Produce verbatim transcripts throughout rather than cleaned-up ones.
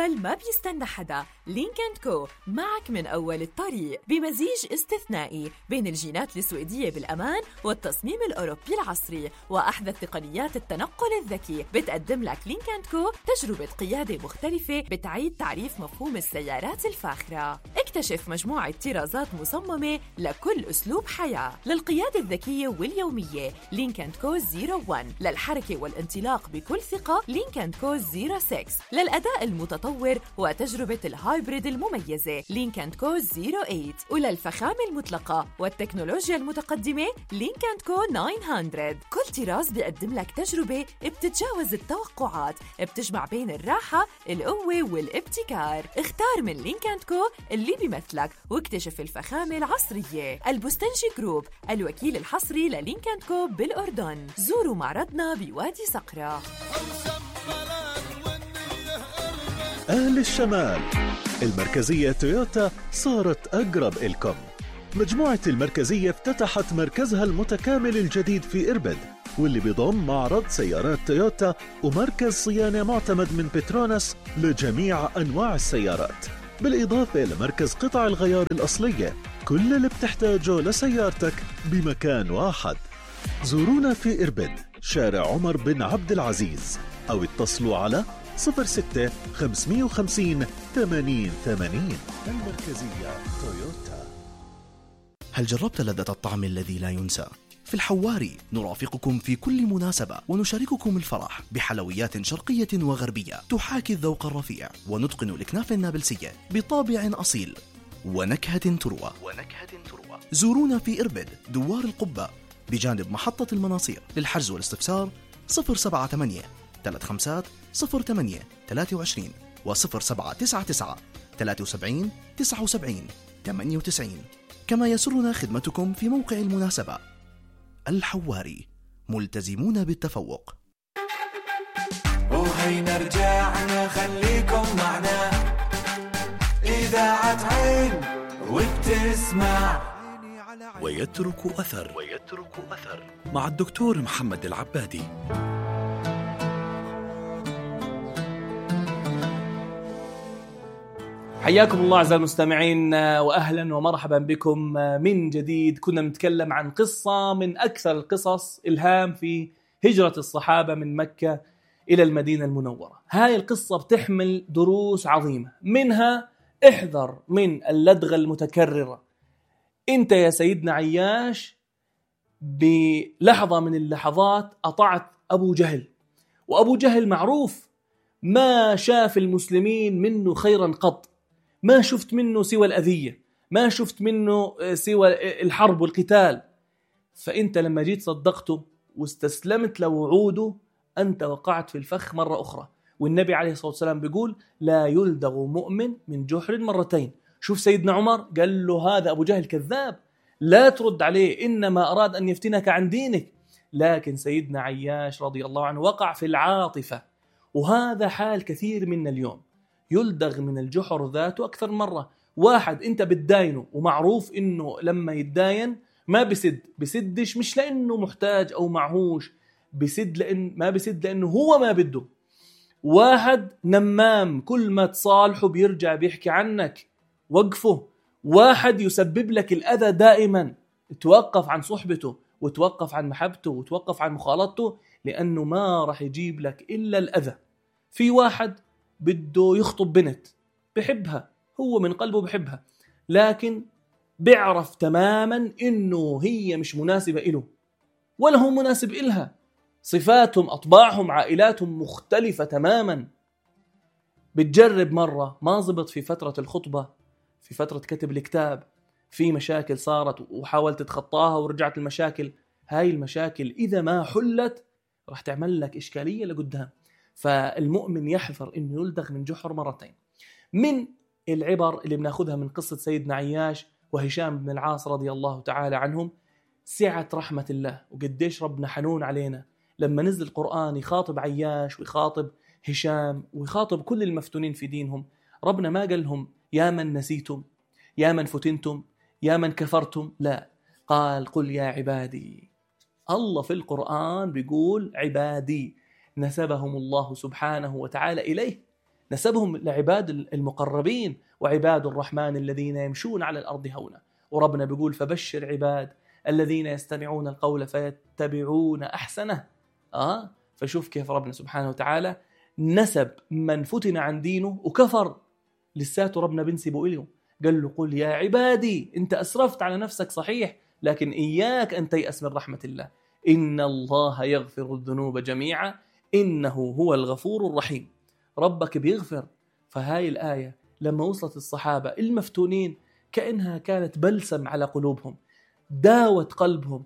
الأول ما بيستنى حدا. لينك أند كو معك من أول الطريق بمزيج استثنائي بين الجينات السويدية بالأمان والتصميم الأوروبي العصري وأحدث تقنيات التنقل الذكي. بتقدم لك لينك أند كو تجربة قيادة مختلفة بتعيد تعريف مفهوم السيارات الفاخرة. اكتشف مجموعة طرازات مصممة لكل أسلوب حياة. للقيادة الذكية واليومية لينك أند كو صفر واحد، للحركة والانطلاق بكل ثقة لينك أند كو صفر ستة، للأداء المتطور وتجربة الهايبريد المميزة لينك أند كو صفر ثمانية، وللفخامة المطلقة والتكنولوجيا المتقدمة لينك أند كو تسعمية. كل طراز بيقدم لك تجربة بتتجاوز التوقعات، بتجمع بين الراحة، القوة والابتكار. اختار من لينك أند كو اللي بيمثلك واكتشف الفخامة العصرية. البستنجي جروب الوكيل الحصري للينك أند كو بالأردن. زوروا معرضنا بوادي صقرة. أهل الشمال، المركزية تويوتا صارت أقرب إلكم. مجموعة المركزية افتتحت مركزها المتكامل الجديد في إربد، واللي بيضم معرض سيارات تويوتا ومركز صيانة معتمد من بتروناس لجميع أنواع السيارات، بالإضافة لمركز قطع الغيار الأصلية. كل اللي بتحتاجه لسيارتك بمكان واحد. زورونا في إربد، شارع عمر بن عبد العزيز، أو اتصلوا على صفر ستة خمسمية وخمسين ثمانين ثمانين. المركزية تويوتا. هل جربت لذة الطعم الذي لا ينسى؟ في الحواري نرافقكم في كل مناسبة ونشارككم الفرح بحلويات شرقية وغربية تحاكي الذوق الرفيع، ونتقن الأكناف النابلسية بطابع أصيل ونكهة تروى. ونكهة تروى. زورونا في إربد، دوار القبة، بجانب محطة المناصير. للحجز والاستفسار صفر سبعة ثمانية ثلاثة خمسة صفر ثمانية ثلاثة وعشرين وصفر سبعة تسعة تسعة ثلاثة سبعين تسعة وسبعين ثمانية وتسعين. كما يسرنا خدمتكم في موقع المناسبة. الحواري، ملتزمون بالتفوق. وهينا رجعنا، خليكم معنا، إذاعة عين وبتسمع ويترك أثر. ويترك أثر مع الدكتور محمد العبادي. حياكم الله أعزائي المستمعين، وأهلا ومرحبا بكم من جديد. كنا نتكلم عن قصة من أكثر القصص إلهام في هجرة الصحابة من مكة إلى المدينة المنورة. هاي القصة بتحمل دروس عظيمة، منها احذر من اللدغة المتكررة. أنت يا سيدنا عياش بلحظة من اللحظات أطعت أبو جهل، وأبو جهل معروف ما شاف المسلمين منه خيرا قط، ما شفت منه سوى الأذية، ما شفت منه سوى الحرب والقتال. فأنت لما جيت صدقته واستسلمت لوعوده، أنت وقعت في الفخ مرة أخرى. والنبي عليه الصلاة والسلام بيقول لا يلدغ مؤمن من جحر مرتين. شوف سيدنا عمر قال له هذا أبو جهل كذاب، لا ترد عليه، إنما أراد أن يفتنك عن دينك. لكن سيدنا عياش رضي الله عنه وقع في العاطفة، وهذا حال كثير منا اليوم، يلدغ من الجحر ذاته أكثر مرة. واحد أنت بتداينه ومعروف إنه لما يتداين ما بسد، بسدش مش لأنه محتاج أو معهوش، بسد لأن ما بسد لأنه هو ما بده. واحد نمام كل ما تصالحه بيرجع بيحكي عنك، وقفه. واحد يسبب لك الأذى دائما، توقف عن صحبته وتوقف عن محبته وتوقف عن مخالطته، لأنه ما راح يجيب لك إلا الأذى. في واحد بده يخطب بنت بحبها، هو من قلبه بحبها، لكن بيعرف تماما إنه هي مش مناسبة إله ولا هو مناسب إلها. صفاتهم، أطباعهم، عائلاتهم مختلفة تماما. بتجرب مرة ما زبط في فترة الخطبة، في فترة كتب الكتاب، في مشاكل صارت وحاولت تتخطاها ورجعت المشاكل. هاي المشاكل إذا ما حلت راح تعمل لك إشكالية لقدام. فالمؤمن يحذر إنه يلدغ من جحر مرتين. من العبر اللي بناخدها من قصة سيدنا عياش وهشام بن العاص رضي الله تعالى عنهم سعة رحمة الله، وقديش ربنا حنون علينا. لما نزل القرآن يخاطب عياش ويخاطب هشام ويخاطب كل المفتونين في دينهم، ربنا ما قال لهم يا من نسيتم، يا من فتنتم، يا من كفرتم، لا، قال قل يا عبادي. الله في القرآن بيقول عبادي، نسبهم الله سبحانه وتعالى إليه، نسبهم لعباد المقربين، وعباد الرحمن الذين يمشون على الأرض هونا. وربنا بيقول فبشر عباد الذين يستمعون القول فيتبعون أحسنه. آه فشوف كيف ربنا سبحانه وتعالى نسب من فتن عن دينه وكفر لساته ربنا بنسبه إليه. قال له قل يا عبادي، انت أسرفت على نفسك صحيح، لكن إياك أن تيأس من رحمة الله، إن الله يغفر الذنوب جميعا إنه هو الغفور الرحيم. ربك بيغفر. فهاي الآية لما وصلت الصحابة المفتونين كأنها كانت بلسم على قلوبهم، داوت قلبهم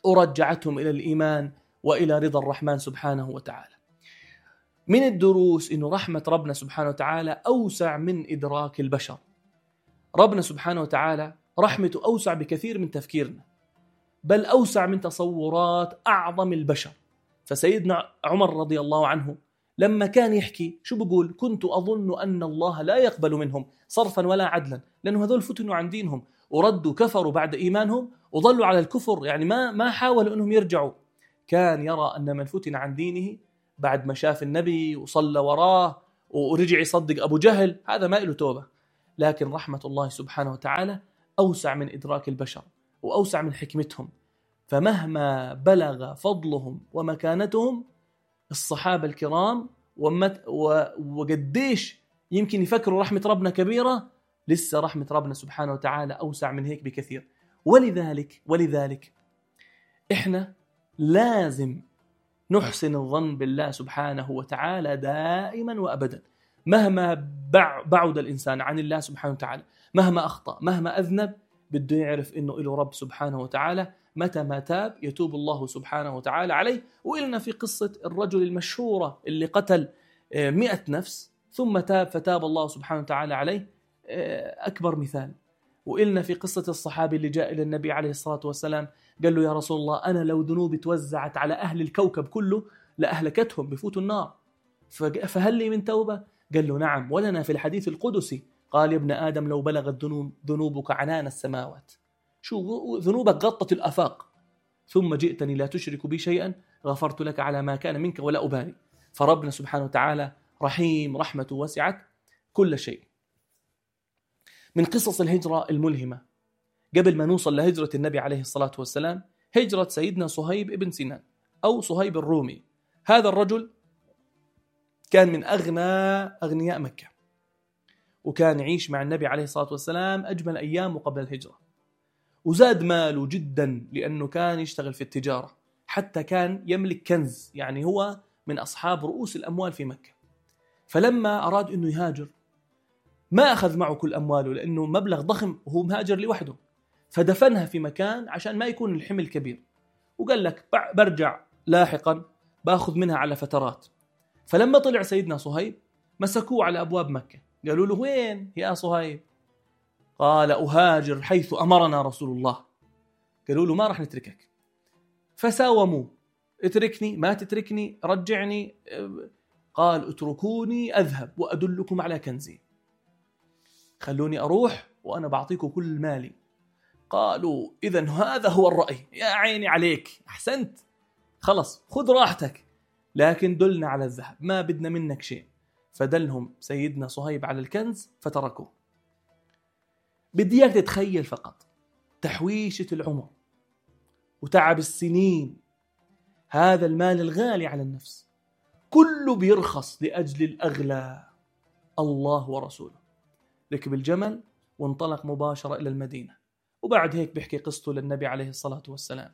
ورجعتهم إلى الإيمان وإلى رضا الرحمن سبحانه وتعالى. من الدروس إنه رحمة ربنا سبحانه وتعالى أوسع من إدراك البشر. ربنا سبحانه وتعالى رحمته أوسع بكثير من تفكيرنا، بل أوسع من تصورات أعظم البشر. فسيدنا عمر رضي الله عنه لما كان يحكي شو بقول؟ كنت أظن أن الله لا يقبل منهم صرفا ولا عدلا، لأنه هذول فتنوا عن دينهم وردوا كفروا بعد إيمانهم وظلوا على الكفر، يعني ما ما حاولوا أنهم يرجعوا. كان يرى أن من فتن عن دينه بعد ما شاف النبي وصلى وراه ورجع يصدق أبو جهل هذا ما له توبة. لكن رحمة الله سبحانه وتعالى أوسع من إدراك البشر وأوسع من حكمتهم. فمهما بلغ فضلهم ومكانتهم الصحابة الكرام ومت وقديش يمكن يفكروا رحمة ربنا كبيرة، لسه رحمة ربنا سبحانه وتعالى أوسع من هيك بكثير. ولذلك ولذلك إحنا لازم نحسن الظن بالله سبحانه وتعالى دائما وأبدا، مهما بعد الإنسان عن الله سبحانه وتعالى، مهما أخطأ، مهما أذنب، بده يعرف إنه إله رب سبحانه وتعالى، متى ما تاب يتوب الله سبحانه وتعالى عليه. وإلنا في قصة الرجل المشهورة اللي قتل مئة نفس ثم تاب فتاب الله سبحانه وتعالى عليه، أكبر مثال. وإلنا في قصة الصحابي اللي جاء إلى النبي عليه الصلاة والسلام قال له يا رسول الله أنا لو ذنوبي توزعت على أهل الكوكب كله لأهلكتهم بفوتوا النار، فهل لي من توبة؟ قال له نعم، ولنا في الحديث القدسي قال يا ابن آدم لو بلغت ذنوبك عنان السماوات، شو ذنوبك غطت الآفاق، ثم جئتني لا تشرك بي شيئا غفرت لك على ما كان منك ولا أبالي. فربنا سبحانه وتعالى رحيم، رحمته وسعت كل شيء. من قصص الهجرة الملهمة قبل ما نوصل لهجرة النبي عليه الصلاة والسلام، هجرة سيدنا صهيب ابن سنان أو صهيب الرومي. هذا الرجل كان من أغنى أغنياء مكة، وكان يعيش مع النبي عليه الصلاة والسلام أجمل أيامه قبل الهجرة، وزاد ماله جدا لأنه كان يشتغل في التجارة، حتى كان يملك كنز، يعني هو من أصحاب رؤوس الأموال في مكة. فلما أراد أنه يهاجر ما أخذ معه كل أمواله لأنه مبلغ ضخم وهو مهاجر لوحده، فدفنها في مكان عشان ما يكون الحمل كبير، وقال لك برجع لاحقا بأخذ منها على فترات. فلما طلع سيدنا صهيب مسكوه على أبواب مكة، قالوا له وين يا صهيب؟ قال أهاجر حيث أمرنا رسول الله. قالوا له ما رح نتركك. فساوموا، اتركني ما تتركني رجعني. قال اتركوني أذهب وأدلكم على كنزي، خلوني أروح وأنا بعطيكم كل مالي. قالوا إذن هذا هو الرأي، يا عيني عليك أحسنت، خلص خذ راحتك، لكن دلنا على الذهب ما بدنا منك شيء. فدلهم سيدنا صهيب على الكنز فتركوه. بدي اياك تتخيل فقط تحويشة العمر وتعب السنين، هذا المال الغالي على النفس كله بيرخص لأجل الأغلى، الله ورسوله. ركب الجمل وانطلق مباشرة إلى المدينة، وبعد هيك بيحكي قصته للنبي عليه الصلاة والسلام.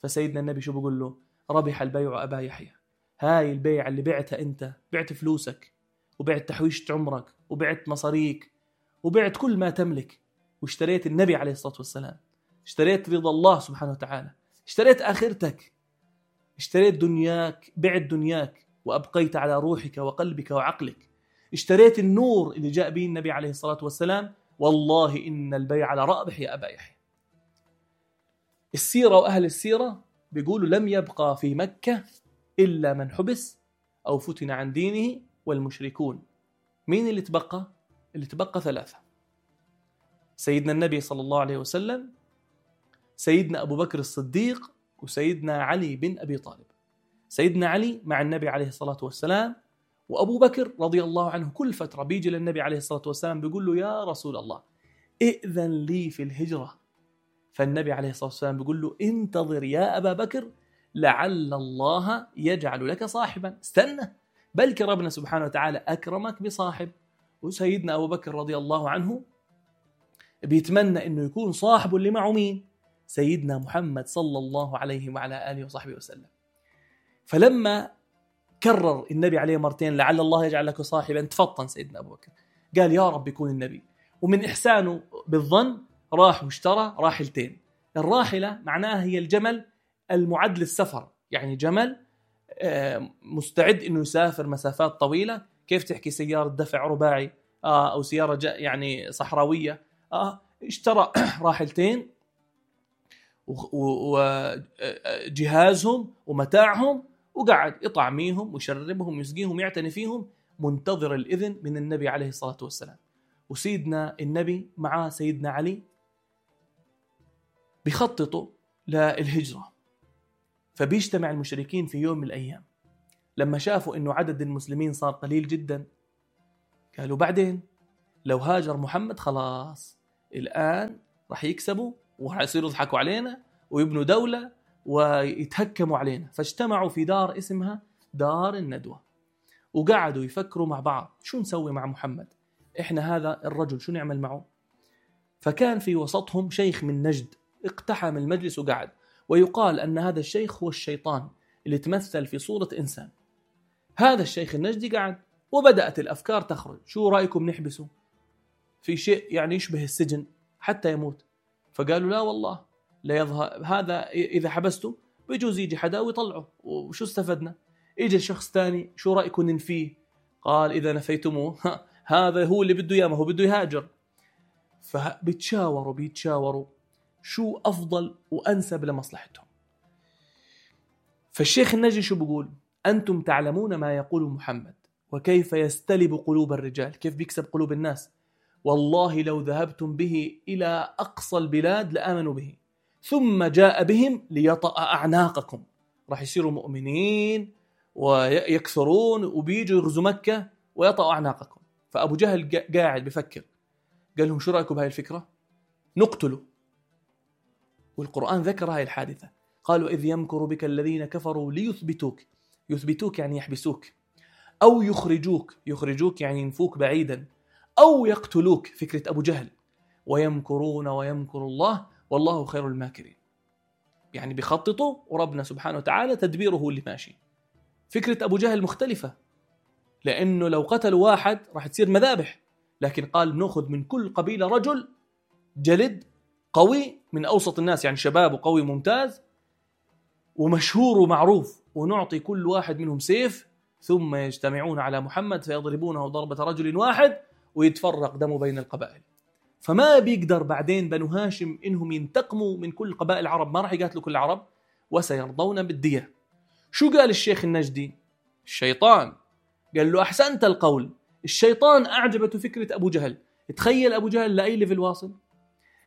فسيدنا النبي شو بيقول له؟ ربح البيع أبا يحيى، هاي البيع اللي بعتها أنت، بعت فلوسك وبعت تحويشة عمرك وبعت مصاريك وبعت كل ما تملك، واشتريت النبي عليه الصلاة والسلام، اشتريت رضا الله سبحانه وتعالى، اشتريت آخرتك، اشتريت دنياك، بعت دنياك وأبقيت على روحك وقلبك وعقلك، اشتريت النور اللي جاء به النبي عليه الصلاة والسلام. والله إن البيع لرابح يا أبا يحيى. السيرة وأهل السيرة بيقولوا لم يبقى في مكة إلا من حبس أو فتن عن دينه والمشركون. مين اللي تبقى؟ اللي تبقى ثلاثة: سيدنا النبي صلى الله عليه وسلم، سيدنا أبو بكر الصديق، وسيدنا علي بن أبي طالب. سيدنا علي مع النبي عليه الصلاة والسلام، وأبو بكر رضي الله عنه كل فترة بيجي للنبي عليه الصلاة والسلام بيقول له يا رسول الله ائذن لي في الهجرة. فالنبي عليه الصلاة والسلام بيقول له انتظر يا أبا بكر لعل الله يجعل لك صاحبا، استنى بلكي ربنا سبحانه وتعالى أكرمك بصاحب. وسيدنا أبو بكر رضي الله عنه بيتمنى إنه يكون صاحبه اللي معه مين؟ سيدنا محمد صلى الله عليه وعلى آله وصحبه وسلم. فلما كرر النبي عليه مرتين لعل الله يجعل لك صاحبا تفطن سيدنا أبو بكر، قال يا رب يكون النبي. ومن إحسانه بالظن راح واشترى راحلتين. الراحلة معناها هي الجمل المعد للسفر، يعني جمل مستعد إنه يسافر مسافات طويلة. كيف تحكي سيارة دفع رباعي آه أو سيارة يعني صحراوية، آه اشترى راحلتين وجهازهم ومتاعهم وقعد يطعميهم ويشربهم ويسقيهم ويعتني فيهم منتظر الإذن من النبي عليه الصلاة والسلام. وسيدنا النبي مع سيدنا علي بيخططوا للهجرة. فبيجتمع المشركين في يوم من الأيام، لما شافوا إنه عدد المسلمين صار قليل جدا قالوا بعدين لو هاجر محمد خلاص الآن رح يكسبوا وحيصيروا يضحكوا علينا ويبنوا دولة ويتهكموا علينا. فاجتمعوا في دار اسمها دار الندوة وقعدوا يفكروا مع بعض شو نسوي مع محمد، إحنا هذا الرجل شو نعمل معه. فكان في وسطهم شيخ من نجد اقتحم المجلس وقعد، ويقال أن هذا الشيخ هو الشيطان اللي تمثل في صورة إنسان. هذا الشيخ النجدي قعد وبدأت الأفكار تخرج، شو رأيكم نحبسه في شيء يعني يشبه السجن حتى يموت؟ فقالوا لا والله لا يظهر هذا، إذا حبسته بيجوز يجي حدا ويطلعه وشو استفدنا. إجا شخص تاني شو رأيكم ننفيه؟ قال إذا نفيتموه هذا هو اللي بده إياه، ما هو بده يهاجر. فبيتشاوروا بيتشاوروا شو أفضل وأنسب لمصلحتهم. فالشيخ النجدي شو بيقول؟ أنتم تعلمون ما يقول محمد وكيف يستلب قلوب الرجال، كيف بيكسب قلوب الناس. والله لو ذهبتم به إلى أقصى البلاد لآمنوا به، ثم جاء بهم ليطأ أعناقكم، راح يصيروا مؤمنين ويكثرون وبيجوا يغزوا مكة ويطأوا أعناقكم. فأبو جهل قاعد بفكر، قال لهم شو رأيكم بهاي الفكرة؟ نقتله. والقرآن ذكر هاي الحادثة، قالوا إذ يمكر بك الذين كفروا ليثبتوك، يثبتوك يعني يحبسوك، أو يخرجوك، يخرجوك يعني ينفوك بعيدا، أو يقتلوك، فكرة أبو جهل. ويمكرون ويمكر الله والله خير الماكرين، يعني بيخططوا وربنا سبحانه وتعالى تدبيره اللي ماشي. فكرة أبو جهل مختلفة، لأنه لو قتلوا واحد راح تصير مذابح، لكن قال بنأخذ من كل قبيلة رجل جلد قوي من أوسط الناس، يعني شباب وقوي ممتاز ومشهور ومعروف، ونعطي كل واحد منهم سيف، ثم يجتمعون على محمد فيضربونه ضربة رجل واحد ويتفرق دمه بين القبائل. فما بيقدر بعدين بنو هاشم إنهم ينتقموا من كل قبائل العرب، ما راح يقاتلوا كل العرب، وسيرضون بالدية. شو قال الشيخ النجدي؟ الشيطان قال له أحسنت القول. الشيطان أعجبته فكرة أبو جهل. تخيل أبو جهل لأي ليفل واصل.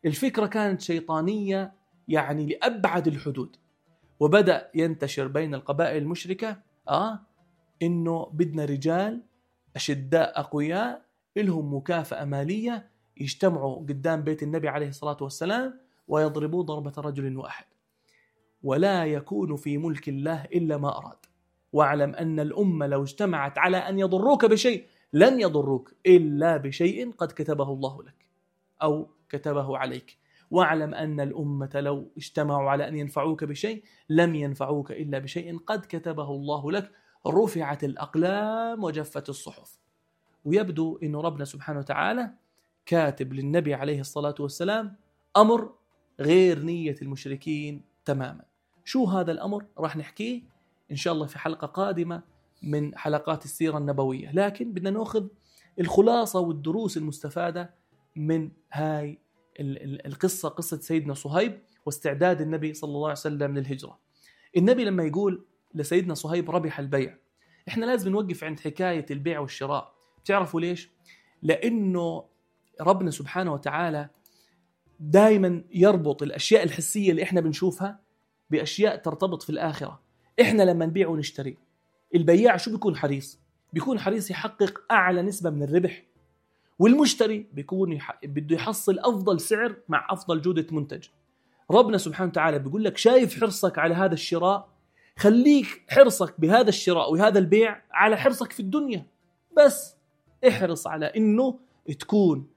الفكرة كانت شيطانية يعني لأبعد الحدود، وبدأ ينتشر بين القبائل المشركة آه إنه بدنا رجال أشداء أقوياء إلهم مكافأة مالية يجتمعوا قدام بيت النبي عليه الصلاة والسلام ويضربوا ضربة رجل واحد. ولا يكون في ملك الله إلا ما أراد، واعلم أن الأمة لو اجتمعت على أن يضروك بشيء لن يضروك إلا بشيء قد كتبه الله لك أو كتبه عليك، واعلم أن الأمة لو اجتمعوا على أن ينفعوك بشيء لم ينفعوك إلا بشيء قد كتبه الله لك. رفعت الأقلام وجفت الصحف. ويبدو أن ربنا سبحانه وتعالى كاتب للنبي عليه الصلاة والسلام أمر غير نية المشركين تماما. شو هذا الأمر؟ راح نحكيه إن شاء الله في حلقة قادمة من حلقات السيرة النبوية، لكن بدنا نأخذ الخلاصة والدروس المستفادة من هاي القصة، قصة سيدنا صهيب واستعداد النبي صلى الله عليه وسلم للهجرة. النبي لما يقول لسيدنا صهيب ربح البيع، إحنا لازم نوقف عند حكاية البيع والشراء. بتعرفوا ليش؟ لأنه ربنا سبحانه وتعالى دائما يربط الأشياء الحسية اللي إحنا بنشوفها بأشياء ترتبط في الآخرة. إحنا لما نبيع ونشتري، البياع شو بيكون حريص؟ بيكون حريص يحقق أعلى نسبة من الربح، والمشتري بيكون يح... بده يحصل أفضل سعر مع أفضل جودة منتج. ربنا سبحانه وتعالى بيقول لك شايف حرصك على هذا الشراء، خليك حرصك بهذا الشراء وهذا البيع على حرصك في الدنيا، بس احرص على إنه تكون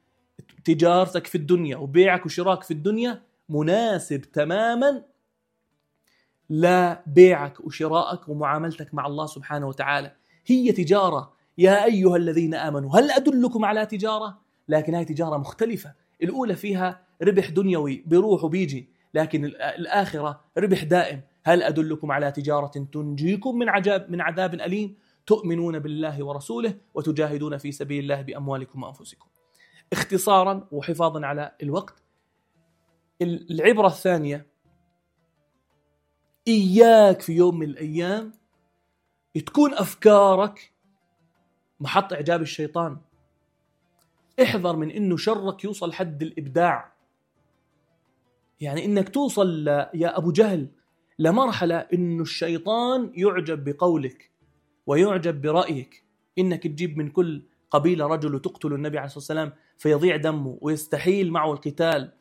تجارتك في الدنيا وبيعك وشراك في الدنيا مناسب تماما لبيعك وشراءك ومعاملتك مع الله سبحانه وتعالى. هي تجارة يا أيها الذين آمنوا هل أدلكم على تجارة؟ لكن هاي تجارة مختلفة، الأولى فيها ربح دنيوي بيروح وبيجي، لكن الآخرة ربح دائم. هل أدلكم على تجارة تنجيكم من عذاب من عذاب أليم تؤمنون بالله ورسوله وتجاهدون في سبيل الله بأموالكم وأنفسكم. اختصارا وحفاظا على الوقت، العبرة الثانية، إياك في يوم من الأيام تكون أفكارك محط إعجاب الشيطان. احذر من إنه شرك يوصل حد الإبداع، يعني إنك توصل يا أبو جهل لمرحلة إنه الشيطان يعجب بقولك ويعجب برأيك، إنك تجيب من كل قبيلة رجل وتقتل النبي عليه الصلاة والسلام فيضيع دمه ويستحيل معه القتال